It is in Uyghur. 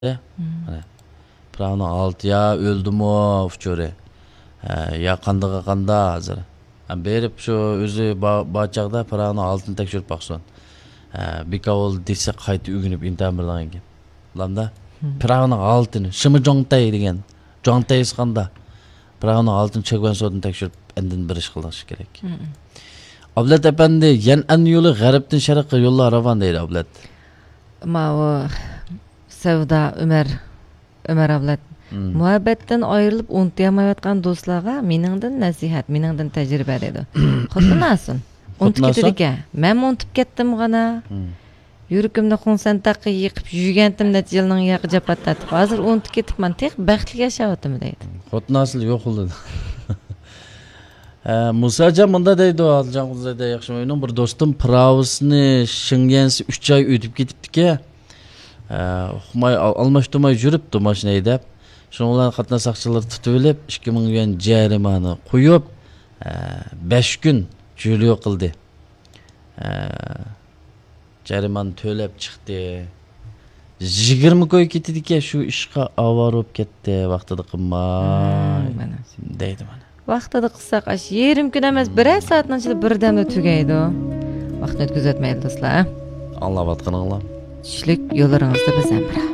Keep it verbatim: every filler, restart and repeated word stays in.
مم. مانا، پىراۋنىڭ ھالىتى يا ئۆلدىمۇ ئۇچۇرى، ھە، يا قاندىغا قاندا ھازىر. ھە، بېرىپ شۇ ئۆزى با-، بار چاغدا پىراۋنىڭ ھالىتىنى تەكشۈرۈپ باقسۇن. ھە، بىكار بولدى دېسە قايتا ئۆگىنىپ ئىمتىھان بېرىدىغان گەپ. ئۇلاردا مم. پىراۋنىڭ ھالىتىنى، شىمى جوڭتەي دېگەن، جوڭتەي ئىسقاندا پىراۋنىڭ ھالىتىنى چۆگەن سودىن تەكشۈرۈپ ئاندىن بېرىش قىلىش كېرەك. مم. ئابلەت ئەپەندى، يەنئەن يولى غەربتىن شەرققە يوللار راۋان دەيدۇ ئابلەت. ماۋۇ سەۋدا ئۆمەر، ئۆمەر ئابلەت. مم. مۇھەببەتتىن ئايرىلىپ ئۇنتۇيالمايۋاتقان دوستلارغا مېنىڭدىن نەسىھەت، مېنىڭدىن تەجرىبە دەيدۇ. خوتۇن ئاسىن. ئۇنتۇپ كېتىدىكەن. مەنمۇ ئۇنتۇپ كەتتىم غانا. مم. يۈرىكىمنى خۇڭسەن تاغقا يېقىپ، يۈگەنتىم نەچچە يىلنىڭ ياقى جاپا تارتىپ، ھازىر ئۇنتۇپ كېتىپمەن، تېخى بەختلىك ياشاۋاتىمەن دەيدۇ. خوتۇن ئاسىل يوق بولدى. ھە، مۇساجان مۇندا دەيدۇ، ئادىلجان قۇدۇزەيدە ياخشىمۇ ئۆينىڭ بىر دوستۇم پىراۋىسىنى شىڭيەنسى ئۈچ ئاي ئۆتۈپ كېتىپتىكەن. ھە، ئۇقماي، ئال-، ئالماشتۇرماي يۈرۈپتۇ ماشىنا ھەيدەپ. شۇنىڭ بىلەن قاتناش ساقچىلىرى تۇتۇۋېلىپ، ئىككى مىڭ يۈەن جەرىمانە قويۇپ، ھە، بەش كۈن جۆلىيو قىلدى. ھە، جەرىمانە تۆلەپ چىقتى. يىگىرمە كوي كېتىدىكەن، شۇ ئىشقا ئاۋارە بولۇپ كەتتى، ۋاقتىدا قىلماي. مم، مانا. دەيدۇ مانا. ۋاقتىدا قىلساق، ئاش يېرىم كۈن ئەمەس، بىرەر سائەتنىڭ ئىچىدە بىردەملا تۈگەيدۇ. ۋاقىتنى ئۆتكۈزۈۋەتمەيلى، دوستلار. ئاڭلاۋاتقىنىڭلار. چۈشلۈك يوللىرىڭىزدا بىز ھەمراھ.